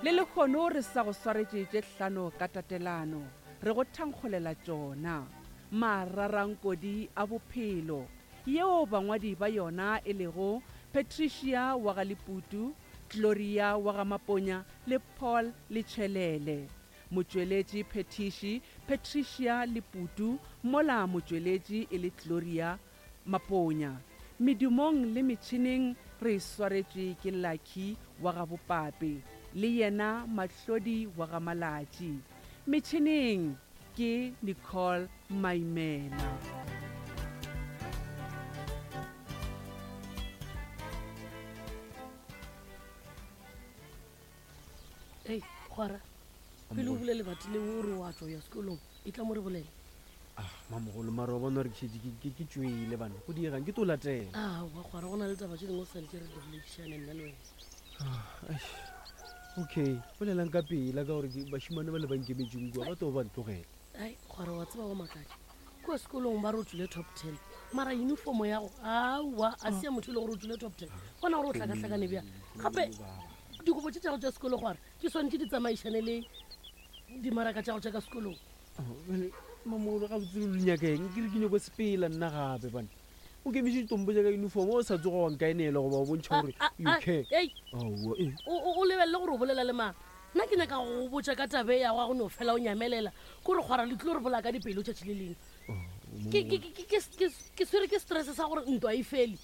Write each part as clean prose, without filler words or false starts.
Le lehono re sa go swaretše tše hlano ka tatelano, re go thankgolela tšona. Mararankodi a bophelo, yeo bangwadi ba yona e lego Patricia wa ga Leputu, Gloria wa ga Maponya le Paul Letšhelele. Motšweletši phethiši Patricia Leputu mola motšweletši e le Gloria Maponya. Medumong le metšhineng re e swaretšwe ke Lucky wa ga Bopape le yena Mahlodi wa ga Malatši. Metšhineng ke Nicole Maimela. Ei, kgwara, pele o bula lebati leo o re wa tšwa ya sekolong, e tla mo re bolele. Ah, mamogolo, mara wa bona gore ke šetše ke- ke ke tšwele bana. Go diegang ke tlo latela. Aowa, kgwara, go na le taba tše dingwe o swanetše re di boledišane nna le wena. Ah, eish. Okay, bolelang ka pela ka gore ke bašemane ba le ba nkemetšeng kua ba tlo ba ntlogela. Ai, kgwara wa tseba wa makatša. Kua sekolong ba re o tšwile top ten, mara uniform ya go aowa a se ya motho e le gore o tšwile top ten. Bona gore o hlakahlakane bjang. Gape dikobo tše tša go tša sekolo kgwara di swanetše di tsamaišane le dimaraka tša go tša ka sekolong. Bjale, Mamogolo gabotse le nyaka eng? Ke re ke nyako sepela nna gape bana. O kemiše ditompo tša ka uniform o sa tsoga wa nkaenela goba wa bontšha gore Ah, you ah, care. ei. Aowa, eh. O, o, o lebelele gore o bolela le mang. Nna ke nyaka go go botša ka taba e ya go ya go no fela o nyamelela. Ko re kgwara le tlilo re bolaya ka dipelo tšatši le lengwe. Ke, ke, ke, ke, ke, ke swere ke stress sa gore ntwa e fele.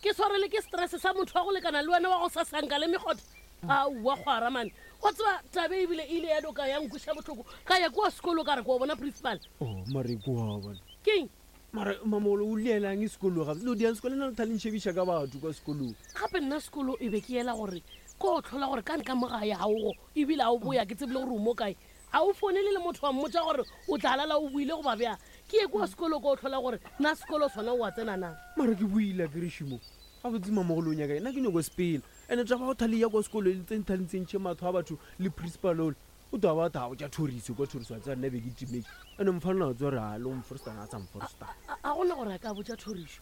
Ke swarele ke stress sa motho wa go lekana le wena wa go sasanka le mekgotha. Aowa kgwara mane. Wa tseba taba e ebile e ile ya doka ya nkweša bohloko. Ka ya kua sekolo ka re ke wa bona principal. Oh, mare kua bona. Keng? Mara mamogolo o lielang e sekolong gape? Lo diang sekolo nna lo thale ntšhebiša ka batho kwa sekolong. Gape nna sekolo e be ke yela gore ko o tlhola gore ka nka mo gae ga o go ebile ga o boya ke tsebile gore o mo kae. Ga o fonele le motho wa mmotša gore o tla lala o boile goba bjang. Ke ye kua sekolo ko o tlhola gore na sekolo sona o a tsena na. Mara ke boile akere Šimo. Gabotse mamogolo o nyaka eng? Nna ke nyoko sepela. Ene taba ya go thale ya kwa sekolo e le thale ntsentšhe matho a batho le principal ole. O tla ba tha botša Thoriso kwa Thoriso a tseba nna be ke timetše. Ene mfana a tseba gore a le o mforstana a sa mforstana. A gona gore a ka botša Thoriso.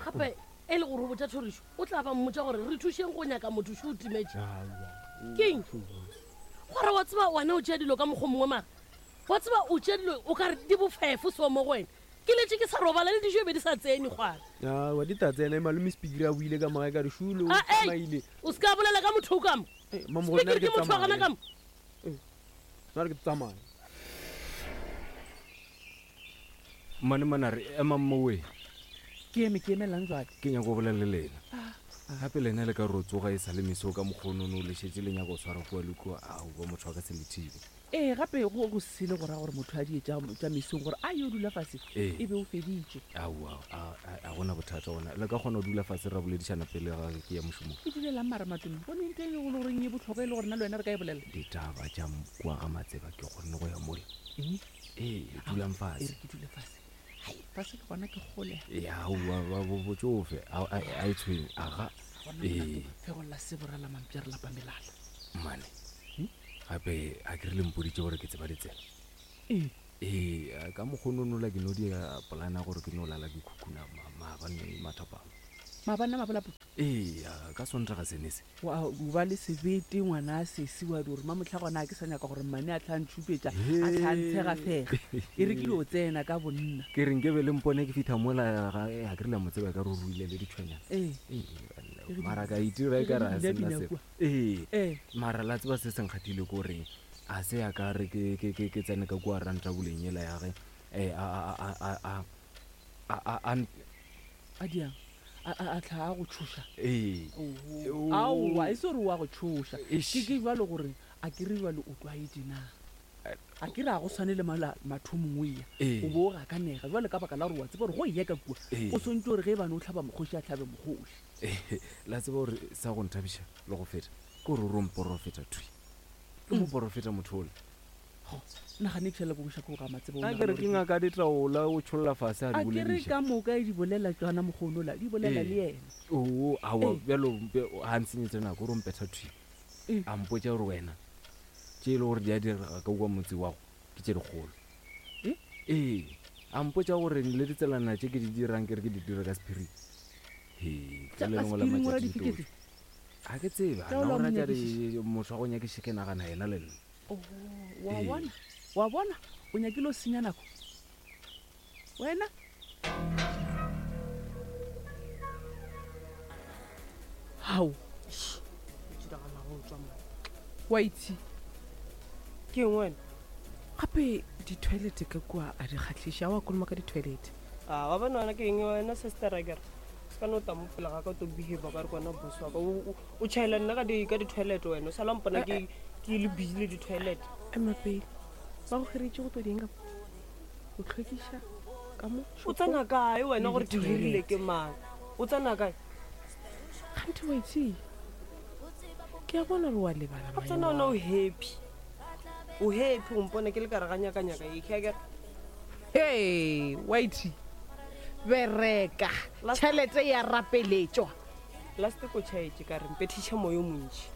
Gape e le gore o botša Thoriso o tla ba mmotša gore re thušeng go nyaka motho šo o timetše. Keng? Gore wa tseba wena o tšea dilo ka mokgwa mongwe mara wa tseba o tšea dilo o ka re di bofefo so mo go wena. Ke letše ke sa robala le dijo e be di sa tsene kgwara. Aowa di ta tsena malome Spikiri a buile ka mogae ka re šule o A ei tsamaile. o se ka bolela ka motho o ka mo. Eh, mamogolo nna re Spikiri ke ke motho wa gona tsamaye. ka mo. Nna re ke tsamaye. Mmane Manare, emang mowe. Ke eme, ke emelang jwale? Ke nyaka go bolela le lena. Gape lena le ka ro tsoga e sa le meso ka mokgonono le šetše le nyaka go swara kua le kua. Aowa, motho a ka se le thibe. Ee, gape go go sele go ra gore motho a die tša, tša mesong gore a yo dula fase Ee. e be o feditše. Aowa, a, a, a gona bothata gona. Le ka kgona go dula fase ra boledišana pele ga ke ya mošomong. Ke dulelang mara Matome? Go ne ntho e le goreng e bohlokwa e le gore nna le wena re ka e bolela? Ditaba tša kua ga Matseba ke kgonne go ya mola. Eng? Ee, dulang E fase. re ke dule fase. Hai, fase le gona ke kgole. Ya, aowa, ba- bo- botšofe, a, a, a e tshwenye. Aga, Gona ee. molato, fegolla sebo ra la mampša re lapa melala. Mmane, gape a ke re le mpoditše gore ke tseba ditsela. Ee. Ee, a ka mokgononola ke no dira polana gore ke no lala ke khukhuna ma- maabane mathapama. Maabane a mabolaputu? Ee, a ka Sontaga sene se. Wa o ba le sebete ngwana a sesi wa di gore mamohla gona a ke sa nyaka gore mmane a tla ntšhupetša a tla ntshegafega. E re ke dio tsena ka bonna. Ke re nke be le mpone ke fihla mola ga a ke re le a mo tseba ka re o ruile le ditšhwenyana. Ee. Ee, mara ka itira e ka re a Ke ge se di nna bina selo. kua. Ee, Ee. mara la tseba se se nkgathile ko reng a se ya ka re ke ke ke ke tsene ka kua rantabuleng yela ya ge eh, a a a a a a a a A diang? A a a tla a go tšhoša? ee Oho. Aowa, e se gore o a go tšhoša. Eish. Ke ke bjalo gore a ke re bjalo o tlwaetše na? A ke re a go swane le mala mathomong o eya. Ee. O bo o gakanega bjalo ka baka la gore wa tseba gore go eya ka kua Ee. o swantše gore ge e bane o hlaba mokgoši a hlabe mokgoši. La tseba gore sa go nthabiša le go feta ke gore o ro mporofeta thwi. Ke moporofeta motho ola. Ho, nagane ke šale ko boša ko ga Matseba o A ke re nagana ke gore ke. ngaka ditaola o tšholla fase a di A ke re bolediša. ka moka e di bolela tšona mokgonola, di bolela le Ee. yena. Oo, aowa Ee. bjalo ga ntshenyetše nako o ro mpetha thwi. Ee. A mpotša gore wena tše e le gore di a direga ka kua motse wago ke tše dikgolo. Ee? Ee. A mpotša gore le ditselana tše ke di dirang ke re ke di dira ka sephiring. He, Tša ka le ka lengwe la sephiring o ra matšatši dife di ke tlo tse? tšwa. Ga ke tsebe, Ka o nna la o mo rata nyakišiša? motho wa go nyakišiša ke nagana yena le nna. Oh, wa Ee. bona wa bona o nyakile o senya nako wena hao wa itse Ke eng wena? gape di-toilet ka kua a di kgatlhiše a wa koloma ka di-toilet A wa bona wena ke eng wena sister a kere? Se ka no ta mo pele ga ka o to behave ka re ke wena boss wa ka. O o- o tšhaela nna ka di ka di-toilet wena. O sala mpona ke ke le busy le di-toilet. Ema pele ba go kgeretše go tlo dieng ka mo o tlhwekiša ka mo O tsena kae wena Le gore ke hirile di-toilet. ke mang? O tsena kae? gante wa itse ke a bona gore wa lebala O tsena wena o happy. O happy o mpona ke le ka re ga nyaka-nyaka e ke akere. hey whitey bereka Last- tšhelete ya rapeletšwa Last ko tšhaetše ka re mpethiša moyo o montši.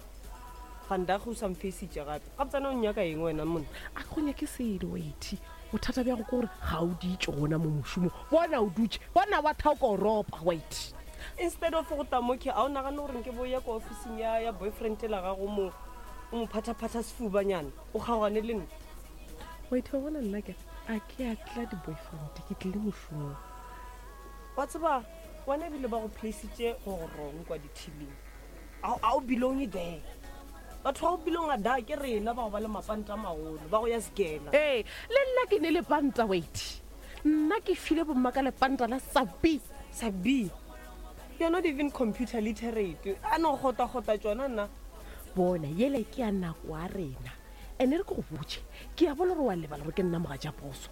Vandag o sa mfeisitše gape. Gape tsena o nnyaka eng wena monna? A ke go nyake selo whitey bothata bja go ke gore ga o ditše gona mo mošomong bona o dutše bona wa thaoko o ropa whitey Instead of go tamoke a o nagane gore nke bo ya ko officing ya ya boyfriend la gago mo o mo phathaphatha sefubanyana o kgaogane le nna. Whitey wa bona nna ke a ke a tla di-boyfriend ke tlile mošomong Wa tseba wena ebile ba go placeitše go go wrong kwa di-teaming. A o belong there. Batho ba go belong a da ke rena ba go ba le mapanta a magolo ba go ya sekela. ee le nna ke ne lepanta whitey nna ke file bomma ka lepanta la sabi Sabi, you're not even computer literate. A no gota-gota tšona nna. Bona yele ke ya nako ya rena ene re ke go botše ke a bona gore wa lebala gore ke nna moga ja poso.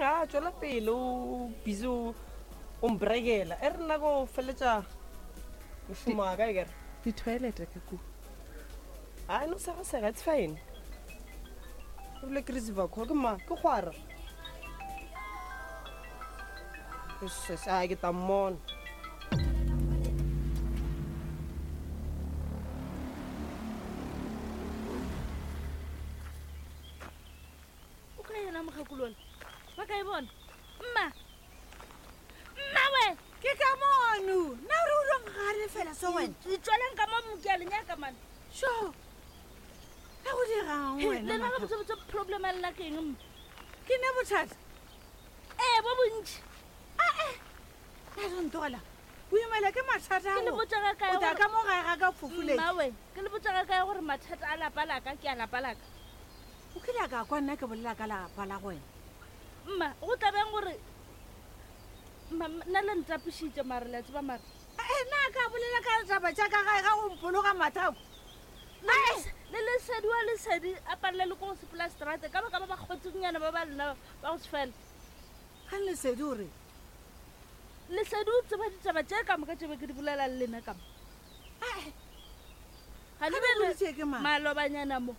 A tswela pele o busy o o mbrekela. E re nna ko feletša mošomo wa ka e kere. Di-toilet ka kua. A no sega-sega, it's fine. Ebile ke receiver call ke ma ke kgwara. Yes, a ke tla mmona. O ka yena mokgakolola ba ka e bona mma mma we Ke ka mono nna ore o dong gare fela so wena. Itsweleng ka mo moke a lenyaka mane. Sho ka go dirang wena lena Mathabo? gabotsebotse problem a lela ke eng mma? Ke ne bothata? Ee, bo bontši. Ae na ntogela o imela ke mathata Ke le ao. botša ga kae O tla gore- ka mo gae ga ka fofuleng. Mma we ke le botša ga kae gore mathata a lapa laka ke a lapa laka? O kile a ka kwa nna ke bolela ka lapa la go wena? Mma go tlabeng gore mma nna le ntapišitše mare le a tseba mare. Ee, nna a ka bolela ka taba tša ka gae ga go mpologa mathako. Le lesedi wa lesedi a palela le ko go sepela strate ka baka ba ba kgotsengnyana ba ba lena ba go se fela. Ga lesedi o re? Lesedi o tseba ditaba tše ka moka tše be ke di bolela le lena ka mo. Ae. Ga le Ga be le le boditše ke mang? malobanyana mo.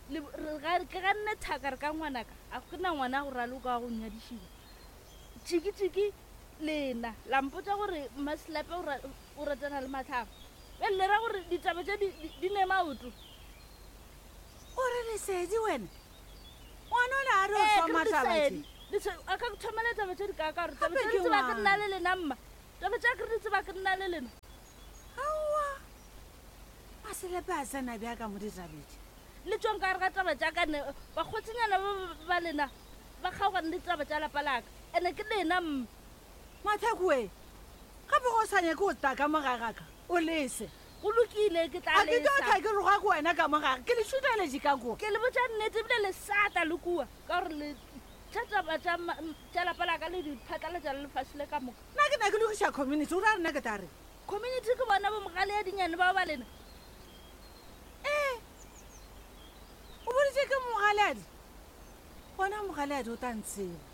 Le re ga ke ga nne thaka re ka ngwanaka a go na ngwana go raloka wa go nyadišiwa. Tšiki-tšiki lena la mpotša gore Mmaselape o ra- o ratana le Matlhabo. Bjale le ra gore ditaba tše di- di- di ne maoto. O re lesedi wena? Ngwana o le a re o Ee, ke re thoma taba lesedi. tše. Lesedi, a ka thomela taba tše di ka ka gore taba Gape tše ke di tseba ke ngwana. nna le lena mma. Taba tše ke re di tseba ke nna le lena. Aowa. Maselepe a tsena bja ka mo ditabeng. Le tšwang ka gare ga taba tša ka ne bakgotsinyana ba ba- ba lena ba kgaogane le taba tša lapa laka. Ene ke lena mma. Mathako we, gape go sa nyake go tla ka mo gae ga ka, o lese. Go lokile ke tla A ke tlo lesa. tla ke roga ko wena ka mo gare, ke le šuteletše ka kua. Ke le botša nnete ebile le sata le kua ka gore le tša taba tša ma- tša lapa laka le di phatlalatša le lefase le ka moka. Nna ke na ke lokiša community, o ra re nna ke tla reng? Community ke bona bo mogale ya dinyane bao ba lena. Ee, o boditše ke mogaleadi? Gona mogaleadi o tla ntseba.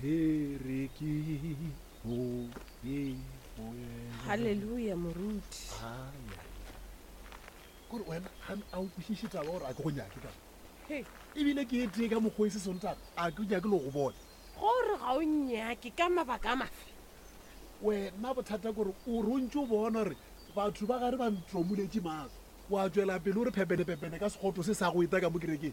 Le re ke mo ye moyeng. Halleluja moruti. Ai, ai. Kore wena ga a o kwešiše taba gore a ke go nyake ka. He. Ebile ke e tee ka mokgwa e se sontaga a ke nyake le go bona. Gore ga o nyake ka mabaka a mafe? Wena bothata kore o rontse o bona gore batho ba gare ba ntromoletše maatla. Wa tswela pele o re phepene-phepene ka sekgoto se sa go eta ka mo kerekeng.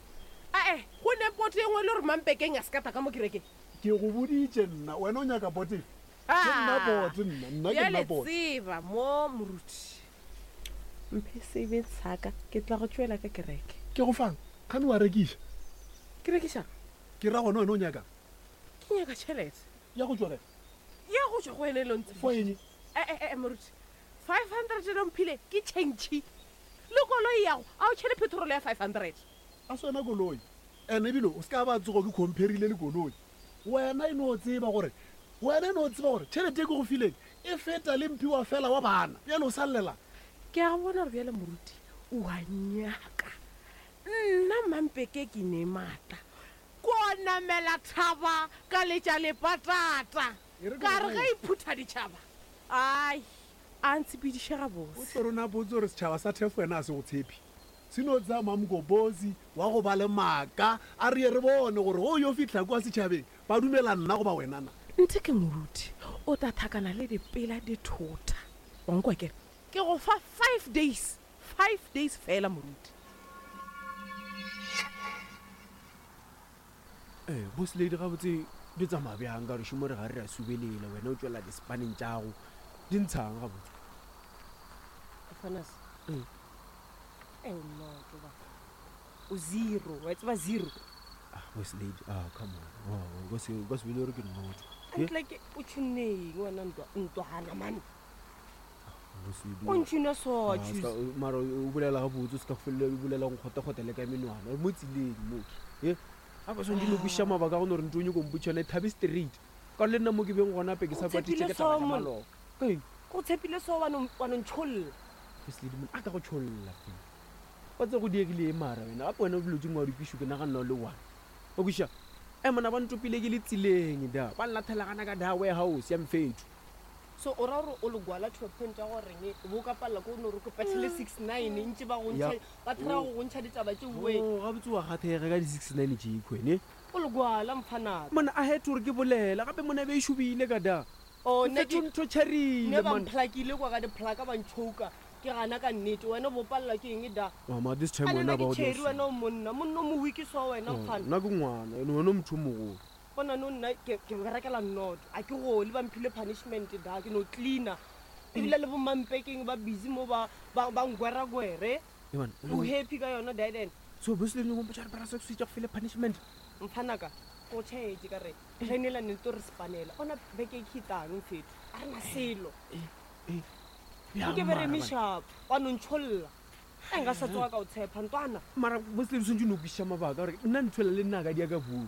Ae, go ne poto e nngwe le gore mampekeng a se ka ta ka mo kerekeng. Ke go boditše nna, wena o nyaka pote efe? Ke nna bote nna, nna ke nna Bjale bote. tseba mo moruti. Mphe sebe saka ke tla go tšwela ka kereke. Ke go fang? Kgane wa rekiša? Ke rekiša? Ke ra gona wena o nyakang? Ke nyaka tšhelete. Ya go tšwa kae? Ya go tšwa go wena e le ntse. For eng? Eh eh eh moruti. 500 e mphile ke change. Le koloi yago a o tšhele petrol ya 500. A se wena koloi. Ene ebile o se ka ba tsogo ke compare-ile le koloi. Wena e no tseba gore wena e no tseba gore tšhelete e ke go fileng e feta le mphiwa fela wa bana. Bjale o sa llelang? Ke a bona gore bjale moruti o a nyaka. Nna Mampeke ke ne maatla. Ko namela thaba ka letša lepatata. E re ke Ka go re ge e phutha ditšhaba. Ai, a ntshepediše gabotse. O tlo rona botse gore setšhaba sa Thefo wena a se go tshepe. Se no tsaya Mamgobozi wa go ba le maaka a re ye re bone gore go yo fihla kua setšhabeng ba dumela nna goba wena na. Nthe ke moruti o tla thakana le dipela dithota. Wa nkwa ke re ke go fa 5 days, 5 days fela moruti. Ee, boss lady gabotse di tsamaya bjang ka gore šomo re ga re ra subelela wena o tšwela dispaneng tšago di ntshang gabotse. Fanas. Eh no, ba. O zero, wa tseba zero. Ah, boss lady, ah come on. Oh, o ka se o ka se bile gore ke nnoto. Ntle ke o tšhuneng wena ntwa ntwana man. Boss lady. O ntšhuna so Ah, choose. ska- mara o bolela gabotse o se ka felela o bolela go kgotekgote le ka menwana re mo tseleng mo e gape swantse no kwešiša mabaka a go no re ntho o nyako mpotša yone thabe straight ka gore le nna mo ke beng gona pe ke sa O kwatitše tshepile ke taba so tša mon. maloba Keng? Go tshepile so wa no wa no ntšholla. Boss lady monna, a ka go tšholla fela wa tse go diegile e mara wena gape wena dilo tse ngwe wa di kwešiwe ke naganna o le one o kwešiša e mona ba ntopile ke le tseleng da ba nlathelagana ka da warehouse ya mfetho So o ra gore o le gwala to a point ya goreng o bo ka palela ko no re ko patlhele 69 ntse ba go Ya. ntšha ba try go go ntšha ditaba tše we. Oh, gabotse wa gathege ka di-69 tše khwene O le gwala mfanaka. mona a het gore ke bolela gape mona be e šobile ka da Oh, nna ke- mfetho ntho tšharile ne ba man mplakile kwa ka diplaka ba ntšhouka ke gana ka nnete wena o bo palela ke eng da mama this time a wena nna ba ke o tšheri wena o monna monna o mowiki so wena mfana nna ke ngwana ene wena o motho o mogolo gona no nna ke ke berekela nnoto a ke gole ba mphile punishment da ke no cleaner ebile le bomampekeng ba busy mo ba ba ba ngweragwere Ee, man, o happy ka yona diden so basically o mpotša gore bra sex o itse go file punishment mfanaka ko tšhaetse ka re planela ne to re spanela ona beke e khitang mfetho a re na selo Bjang nke be re mara, man? meshapo wa no ntšholla a nka sa tsoga ka o tshepa ntwana mara basically o swantse o no kwešiša mabaka gore nna nthwela le nna ka di ya ka boo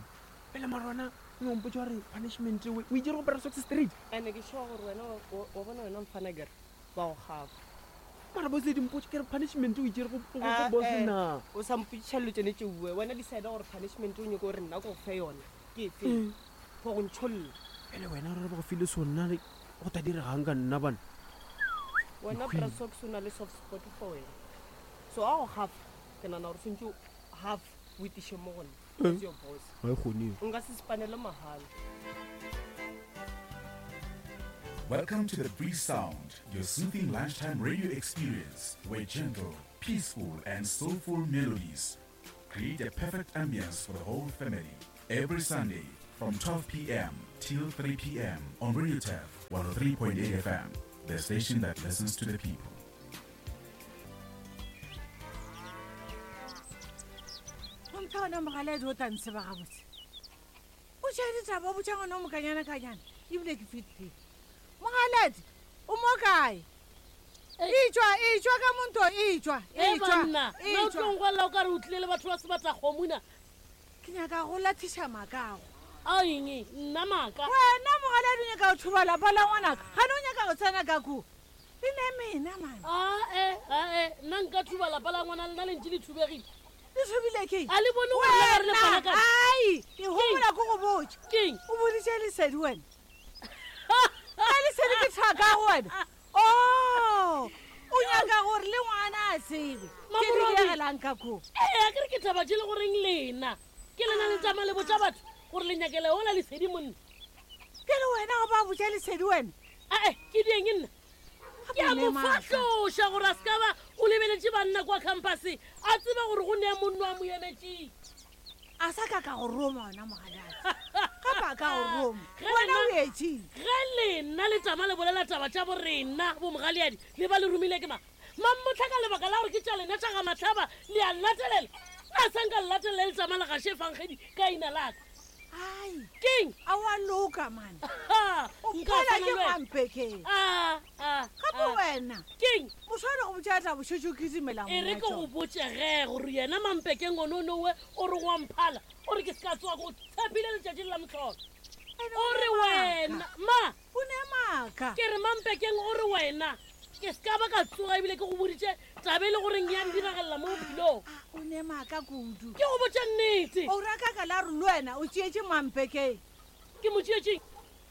pele mara wena o mpotša gore punishment o o itse go bra sex straight ande ke sure gore wena wa- wa wa bona wena mfana kere ba go gafa mara basically mpotše ke re punishment o itse go Ah, boss eh, na o sa mpotšiša dilo tsone tše bue wena decide gore punishment o nyako gore nna ko go fe yona ke efe for go ntšholla pele wena gore ba go file so nna le go ta diregang ka nna bana wena Ke hwile. brasox o na le soft spot for wena so a go gafa ke nana gore swantse half o etiše mo go nna Eh. as your boss ga e kgoneng nka se spanele mahala Welcome to the Breeze Sound, your soothing lunchtime radio experience where gentle, peaceful, and soulful melodies create a perfect ambience for the whole family. Every Sunday from 12 p.m. till 3 p.m. on Radio Tef 103.8 FM, the station that listens to the people. Gomphe gona mogaledi o tla ntsheba gabotse o tšha ditaba o botša ngwana o mokanyana-kanyana ebile ke fetile mogaledi o mo kae etswa etswa ka monto etswa e etswa banna nna o etswa tlong kwalela o ka re o tlile le batho ba sebatakgomona ke nyaka go lathiša makago a eng nna maaka wena mogaledi o nyaka go thuba lapa la ngwanaka gane o nyaka go tsena ka koo le ne mena mane ae ae nna nka thuba lapa la ngwana lena le ntse le thubegile le thubile ke a le bone gore le gare le Wena, panakana ai ke gopola ko go botša keng o boditše lesedi wena a lesedi ke thaka go wena o o nyaka gore le ngwana a tsebe ke di Mamorobi. diegelang ka koo ee a kere ke taba tše le goreng lena ke lena le tsamaya le botša batho gore le nyakele ola lesedi monna ke le wena go ba botša lesedi wena ae ke dieng nna ke a mo Gape le maaka. fahloša gore a se ka ba o lebeletše banna kwa campuseng a tseba gore go nea monno a mo emetseng a sa ka ka go roma ona mogaladi gape a a ka go roma wena o etšeng ge lena le tama le bolela taba tša borena bomogaleadi le ba le romile ke ma mammotlha ka lebaka la gore ke tša lena tša ga matlhaba le a latelela a sa nka le latelela le tama le gaše efangedi ka ina laka ai keng a wa loka mane o nka phala swana ke le wena. mampekeng Ah, ah, gape ah. wena keng moswane go botša tla bošetše o kitimela e re ke go botse ge gore yena mampekeng one o nowe o re wa mphala o re ke se ka tsoa ko tshepile letšatši le la motlholo o re wena ma o ne maaka ke re mampekeng o re wena ke se ka ba ka tsoga ebile ke go boditše tabe e le goreng ya ndiragalela mo bophelong o ne maaka kudu ke go botša nnete o raka ka la re le wena o tšeetše mampekeng ke mo tšeetšeng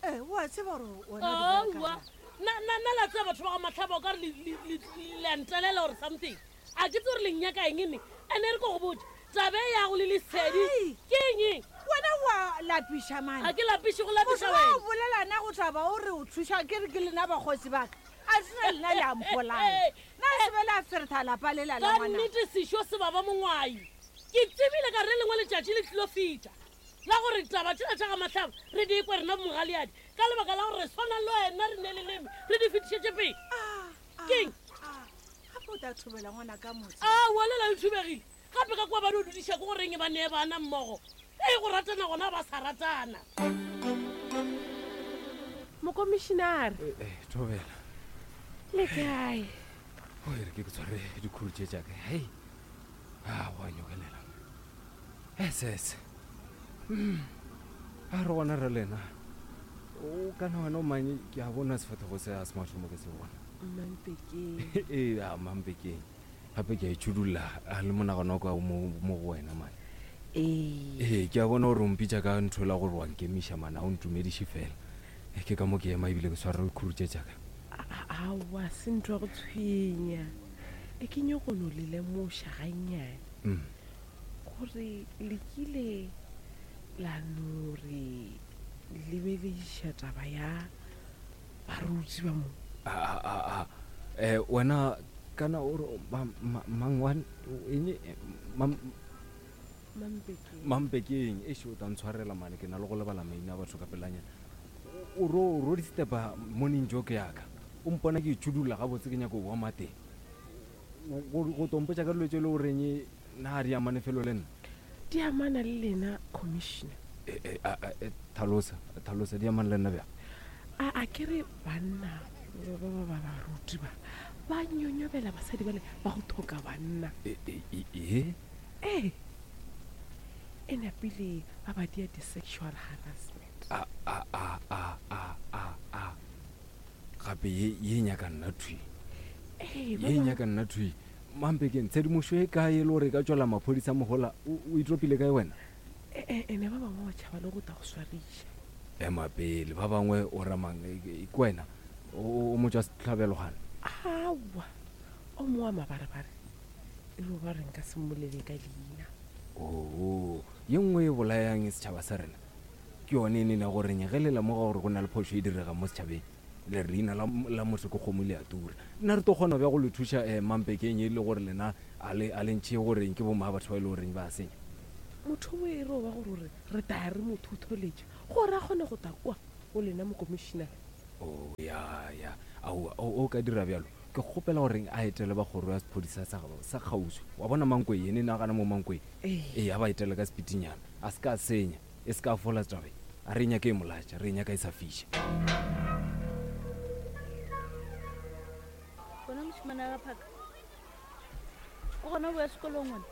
ee o a tseba gore wena aowa nna la tseba batho ba ga matlhaba o ka re le a ntelela gore something a ke tse gore le nnyaka eng ne ande re ko go botse tabe yago le lesedi ke eng wena wa lapiša mane ga ke lapiše go lapiša wa wena bolelana go taba o re o thuša ke re ke lena bakgosi baka a sena lena le a mpolaya na se be la feretha lapa lela la ka ngwana nnete sešo se baba mongwai ke tsebile ka re lengwe letšatši le tlilo fita la gore taba tsela tša ga matlhaba re di ekwe rena bomogaleadi ka lebaka la gore re swana le wena re ne leleme re di fetišetše pele keng gape o tla thobela ngwana ka motse aowa lela le thubegile gape ka kua ba di dudiša ke goreng ba nee bana mmogo ee go ratana gona ba sa ratana mokomišinare Eh, thobela le kae o e re ke ke tshware dikhuru tše jaaka hei a go a nyokelela ss a re gona re lena o kana wena o manye ke a bona sefathego se a se mathomo ke se bona mmampekeng ee a mampekeng gape ke a itšhudulla a le monagano wa ka o mo mo go wena mane ee ee ke a bona gore o mpitša ka ntho la gore wa nkemiša mane a o ntumediše fela Eh, ke ka mo ke ema ebile ke tshware dikhuru tše jaaka aowa se ntho ya go tshwenya e ke nyoko no le lemoša gannyane Mm. gore le kile la no re lebelediša taba ya baruti ba mo a a a eh wena kana o re mang wa eng eh, mampekeng mampekeng e o tla ntshwarela mane ke na le go lebala maina a batho ka pelanyana o ro o ro di-stepa morning joke yaka o mpona ke itšhudulla gabotse ke nyako boa mateng go tompotša ka dilo tse e le goreng na di amane felo le nna di amana le lena commissioner Eh, eh, a- a- eh, tlhalosa tlhalosa di amane le nna bjang a a ke re banna ba ba ba ba baruti ba ba nyonyobela basadi bale ba go thoka banna Eh, eh, eh, eh? ee e napile ba ba dia di-sexual harassment a a a a a a a gape ye ye nyaka nna thwi ee ba ye bangwe- nyaka nna thwi mampekeng tshedimošo e kae e le gore e ka tswela maphodisa mogola o o itropile kae wena e- e- ene ba bangwe ba tšhaba le go ta go swariša ema pele ba bangwe o ramang e- e- ke wena o o motswa setlhabelogane aowa o mongwe wa mabarebare e re ba re nka se mmolele ka leina oo ye nngwe e bolayang setšhaba sa rena ke yone e nene goreng ge le lemoga gore go na le phošo e diregang mo setšhabeng le re leina la la motho ke kgomo le a tura nna re tlo kgona bja go le thuša um mampekeng e le gore lena a le a le ntšhe goreng ke bomma batho ba e le goreng ba senya motho o e re o ba gore ore re taya re mo thotholetša gore a kgone go ta kwa go lena mokomišinare o ya ya aowa o o ka dira bjalo ke kgopela goreng a etele ba kgoro ya sephodisa sa sa kgauswi wa bona mankwe ene nagana mo mankwe Ee. ee a ba etele ka sepitinyana a se ka senya e se ka fola tabe a re e nyaka e molatša re e nyaka e sa fiša Bona mošemane wa ga phaka o gona boya sekolong wena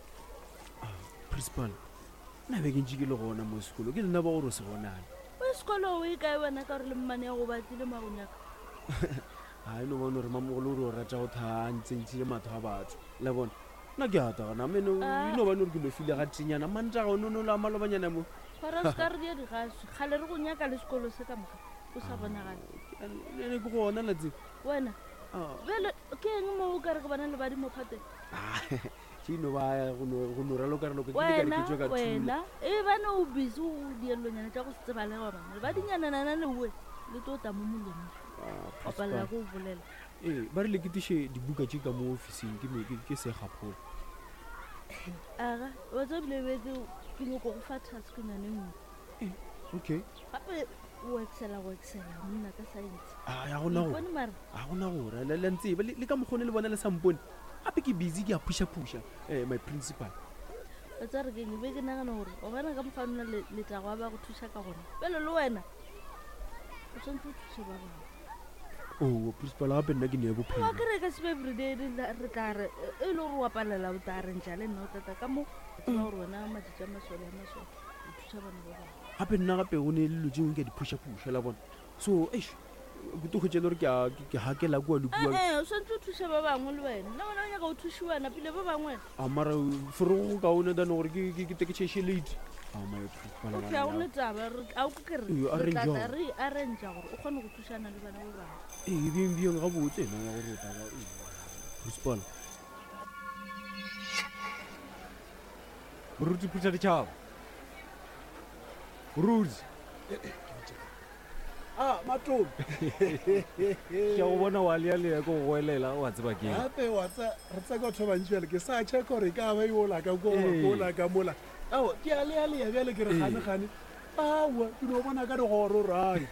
principal nna be ke ntše ke le gona mo sekolo ke lena ba gore o se bonane o ye sekolo o e kae wena ka gore le mmane ya go batlile mo a go nyaka ga e no bone gore mamogolo o re o rata go thaa ntsentšhile matho a batho le bona nna ke ata gona mene Ah. e no bane gore ke lofile ga tenyana mantaga o nono la malobanyana mo gora se ka re dia digaswi kgale re go nyaka le sekolo se ka moka o sa bonagale ene ke gona latse wena bjale ke eng mo o ka re ke bona lebadi mo phateng ke no ba go no raloka raloka ke ile ka re wena ke tswe ka thula wena e bane o busy o diellonyana tša go se tsebalege bana lebadinyananana leoe le tlo ta mo molomong Ah, o palela ko o bolela ee ba re leketiše dibuka tše ka mo officing ke me- ke- ke segaphola aga wa tsa bile betse ke nyoko go fa task nyane nngwe Okay. Gape o excela go excela monna ka science. A ya gona go. Ipone mara. A gona gore le le ntsebe le ka mokgone le bona le sa mpone. Gape ke busy ke a phusha phusha eh my principal. O tsa re keng be ke nagana gore o bona ka mokgwa nna letago a ba go thuša ka gona. Bjale le wena o tshwanetse o thuse ba bangwe. Oh, principal gape nna ke ne bophelo. Wa kere ka se everyday re tla re e le gore wa palela o tla re ntša le nna o tla tla ka mo. Tseba gore wena matšatši a masole a masole o thuša bana ba bangwe. Gape nna gape o ne le dilo tše dingwe ke a di phušaphuša la bona. So eish ke tlo hwetša e le gore ke a ke hakela kua le kua. Ee, o swanetše o thuše ba bangwe le wena. Nna wena o nyaka go thušiwa napile ba bangwe. A mara forogo go kaone than gore ke ke ke tle ke tšhaiše late. A my Okay, ga go ne taba. Re a o ke re Ee, re tla arrange tla re arrange gore o kgone go thušana le bana ba bangwe. Ee, bjeng bjeng gabotse ena ya gore o tla ba principal. Moruti phutha ditšhaba. Moruti. A matome. Ke a go bona wa lealea ke go goelela wa tseba ke. Gape wa tsa re tsa batho ba bantši bjale ke sa check gore e ka ba yola ka kwa Ee. kola ka mola. Ao ke a lealea bjale ke re Ee. gane gane. Aowa ke no bona ka digoro rai.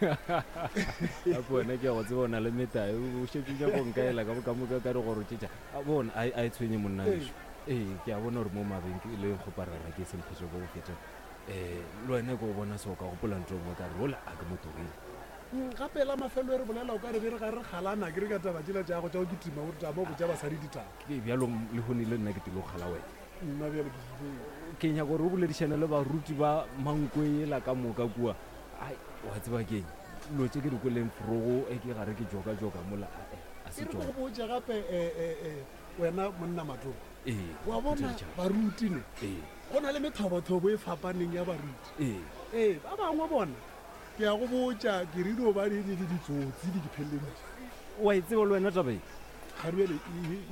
Gape wena ke a go tseba o na le metae o šetše o nyaka go nkaela ka ka moka ka digoro tše tša. A bona a e tshwenye monna Ee. wešo. Ee ke a bona gore mo mabenkeleng kgoparara ke semphetše go go feta. Um le wena ke go bona se o ka gopola ntho e nngwe ka re ola a ke mo tlogele. Gape la mafelelo e re bolela o ka re be re ga re kgalana ke re ka taba tšela tša gago tša go kitima o re tama o botša basadi ditaba. Ke bjalo lehono le nna ke tlilo kgala wena. Nna bjale ke ile. Ke nyaka gore o boledišane le baruti ba Mankwe yela ka moka kua. Ai wa tseba keng dilo tše ke di kweleng forogo e ke gare ke joka-joka mola ae a se E re ke tšona. go botše gape wena monna Matome. Ee, Wa bona Phutha ditšhaba. baruti ne. Ee. Go na le methobothobo e fapaneng ya baruti. Ee. Ee, ba bangwe bona ke a go botša ke re dio ba ditsotsi di ke pheleleditše. Wa e tseba le wena taba e? Ga bjale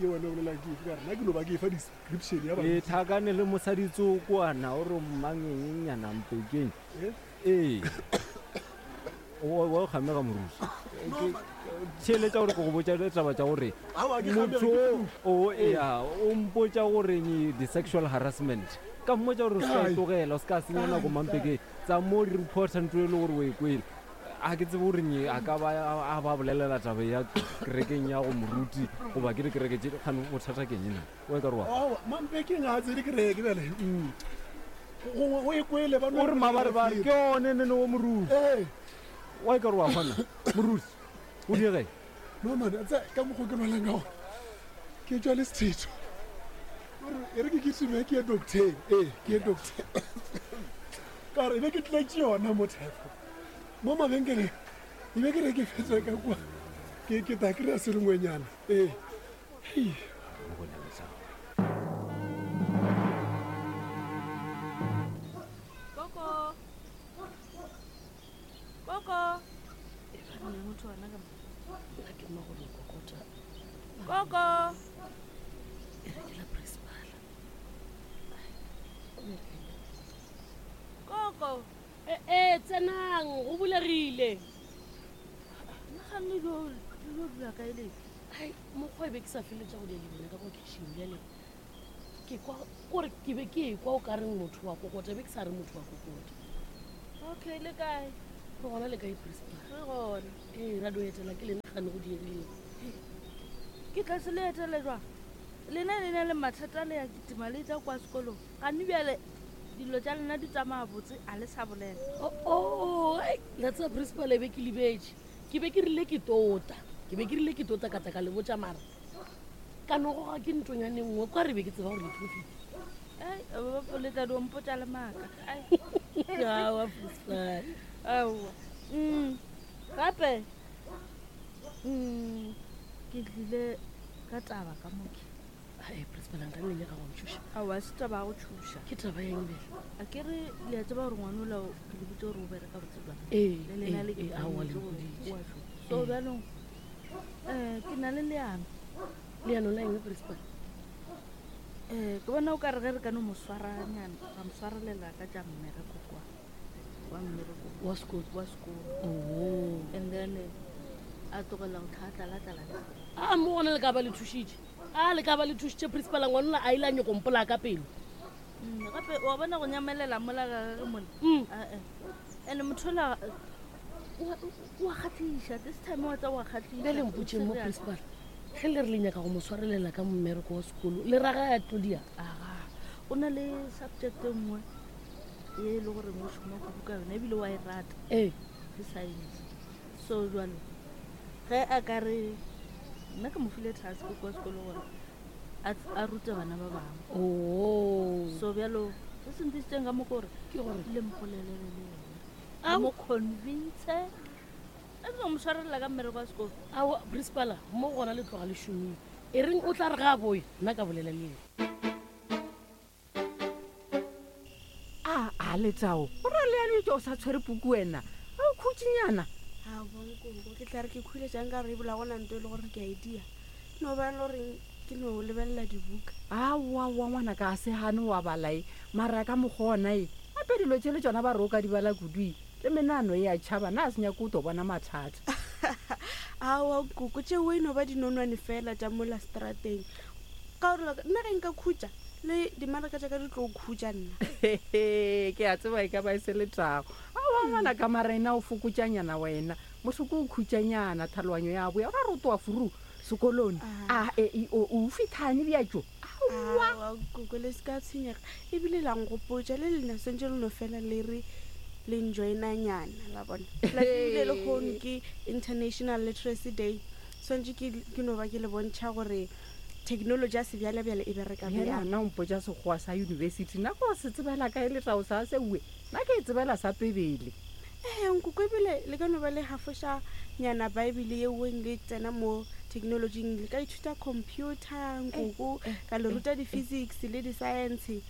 e wena o bolelang ke efe ka re nna ke no ba ke efa description ya E baruti. tlhakane le mosadi tsokwana o re mmangengnyana mpekeng. Eh? Ee. Wa kgamega moruti. Theeletša gore ke go botša taba tša gore Aowa, ke kgamega, motho ke o ea o mpotša gore di-sexual harassment. Ka mmotša gore o se ka e Kae? tlogela, o se ka senya nako Kae? mampeke. Tsa mo di reporta ntho e le gore o e kwele. A ke tsebe gore nye a ka ba a ba bolelela taba ya kerekeng ya go moruti goba ke dikereke tše kgane bothata ke eng na? O e ka re wa. Aowa, mampekeng ga a tsene kereke bjale. Gongwe o e kwele ba no O re mabarebare ke one nene wo moruti. Ee. Wa e ka re wa kgona moruti. O diege. No man, a tsa ka mokgwa ke lwalang ka gona. Ke tšwa le sethetho. Ore e re ke kitime ke ye docteng. Ee, ke ye docteng. Ka gore e be ke tletše yona mo typhoid. Mo mabenkeleng e be ke re ke fetsa ka kwa. Ke ke tla kry-a se lengwenyana. Ee. Hei. Koko. Koko. E ba motho wa ka mo. Nna ke mma gore o kokota. Koko. E re ke la principal. Koko. Ee, tsenang go bulegile. Nna ga nne lo lo dula kae le? Ai, mokgwa e be ke sa feletša go dia le bona ka kwa kitchen bjale. Ke kwa kore ke be ke ekwa o ka reng motho wa kokota, be ke sa re motho wa kokota. Okay, le kae? Re gona le kae principal? Re gona. Ee, ra dio etela ke lena gane go diegileng. Ke tla se le etele jwang? Lena le na le mathata le ya kitima le tla kwa sekolong. Gane bjale dilo tša lena di tsamaya botse a le sa bolela. Oh, ai, la tseba principal e be ke lebetše. Ke be ke rile ke tota. Ke be ke rile ke tota ka tla ka le botša mara. Ka no goga ke ntonyane nngwe kwa re be ke tseba gore le profit. Ai, ba le tla dio mpotša le maaka. Ai. Aowa, principal. Aowa. Gape ke tlile ka taba ka moke. Ai, principal nka nne nyaka go ntšhoša. Aowa, se taba ya go tšhoša. Ke taba ya eng bjale? A ke re le a tseba gore ngwana ola ke le botse gore o bereka botse jwang. Ee, Le lena le ee, ke ee, aowa, le tshwanetse gore mpoditše. o a šoma. So bjanong ke na le leano. Leano la eng principal? Ke bona o ka re ge re ka no mo swaranyana, ra mo swarelela ka tša mmereko kwa. Wa mmereko. Wa sekolo. Wa sekolo. Oh. And then a tlogela go tlhatlala-tlala. A mo gona le ka ba le thušitše. A le ka ba le thušitše principal ngwana a ile a nyako mpola ka pelo. Gape wa bona go nyamelela mola ga gage mola. Ae. And motho ola wa kgatlhiša this time wa tsa wa kgatlhiša. Bjale mpotšeng mo principal ge le re le nyaka go mo swarelela ka mmereko wa sekolo le raga ya tlodia. Aga o na le subject e nngwe ye e le goreng o šoma kudu ka yona ebile wa e rata. Ee. Ke science. So jwale ge a ka re nna ke mo file task kwa sekolo gore a rute bana ba bangwe. Oh. So bjalo se se ntisitseng ka mo ke gore Ke gore? le mpolelele le yena. Le mo convince. A tlo mo swarelela ka mmereko wa sekolo. Aowa principal mo gona le tloga le šomile. E reng o tla re ga a boya nna ka bolela le yena. A a Letao, o ra le ya o sa tshwere puku wena. A o khutšinyana? Aowa nkoko, ke tla re ke khule jang ka gore e bola gona nto e le gore ke a e dia. No ba le goreng ke no lebelela dibuka. Aowa wa ngwana ka a se gane wa bala e, mara ka mokgwa ona e. Gape dilo tše le tšona ba re o ka di bala kudu e, le menano e a tšhaba, na a se nyake o tlo bona mathata. Aowa nkoko, tšeo e no ba dinonwane fela tša mola strateng. Ka gore nna ge nka khutša, le dimaraka tša ka di tlo khutša nna. Ke a tseba e ka ba e se letago. Aowa ngwana ka mara ena o fokotšanyana wena. Motho ke o khutšanyana, tlhaloganyo ya boya. O ra re o tloga furu sekolong. A e i o o fithane bjatšo. Aowa. Aowa koko le se ka tshwenyega. Ebile la nkgopotša le lena swantše le no fela le re le njoinanyana la bona. Plus ebile lehono ke International Literacy Day. Swantše ke ke no ba ke le bontšha gore technology ya sebjalebjale e bereka Bjale bjang. nna o mpotša sekgowa sa university nna ko se tsebela kae letao sa seue nna ke e tsebela sa pebele. Ee nkoko ebile le ka no ba le hafoša nyana bible yeweng le tsena mo technologyng le ka ithuta computer nkoko ka le ruta di-physics le di-science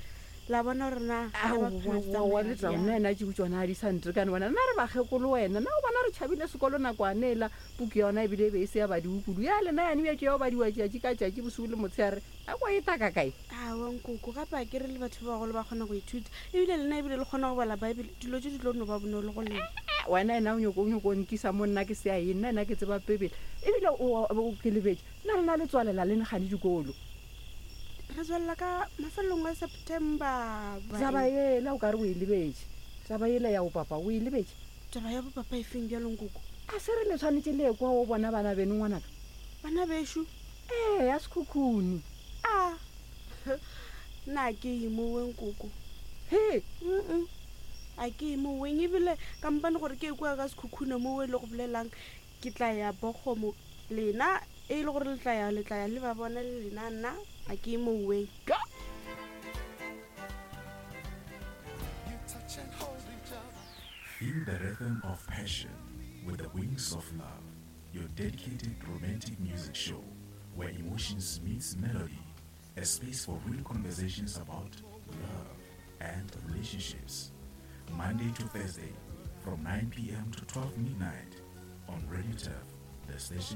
la bona gore na aowa letao nna ena tšeo tsona a di sa ntekane wena nna re bakgekolo wena na o bona re tšhabile sekolo nakwane ela puku ya yona ebile e be e se ya badiwe kudu ya lena yane bjatšo ya go badiwa tšatši ka tšatši bosigo le motshegare nako e taka kae Aowa nkoko, gape a ke re le batho ba bagolo ba kgona go ithuta, ebile lena ebile le kgona go bala Bible, dilo tše di tlo no ba bonolo go lena. Wena ena o nyoko o nyoko nkisa mo nna ke se ya eng, nna ena ke tseba Bibele. Ebile o o ke lebetše, nna lena le tswalela leng gane dikolo? Re tswalela ka mafelelong a September. Ba Taba eng? yela o ka re o e lebetše, taba yela ya bopapa o e lebetše? Taba ya bopapa e feng bjalo nkoko? A se re le tshwanetše le ye kwa o bona bana beno ngwanaka? Bana bešo? Ee, ya Sekhukhune. A nna a ke ye moweng koko. He! Mm a ke ye moweng ebile kampane gore ke ye kua ka Sekhukhune mowe le go bolelang ke tla ya Bogomo lena e le gore le tla ya le tla ya le ba bona le lena nna a ke ye moweng. Feel the rhythm of passion with the wings of love. Your dedicated romantic music show where emotions meets melody, a space for real conversations about love and relationships. Monday to Thursday from 9 p.m. to 12 midnight on Radio Turf, the station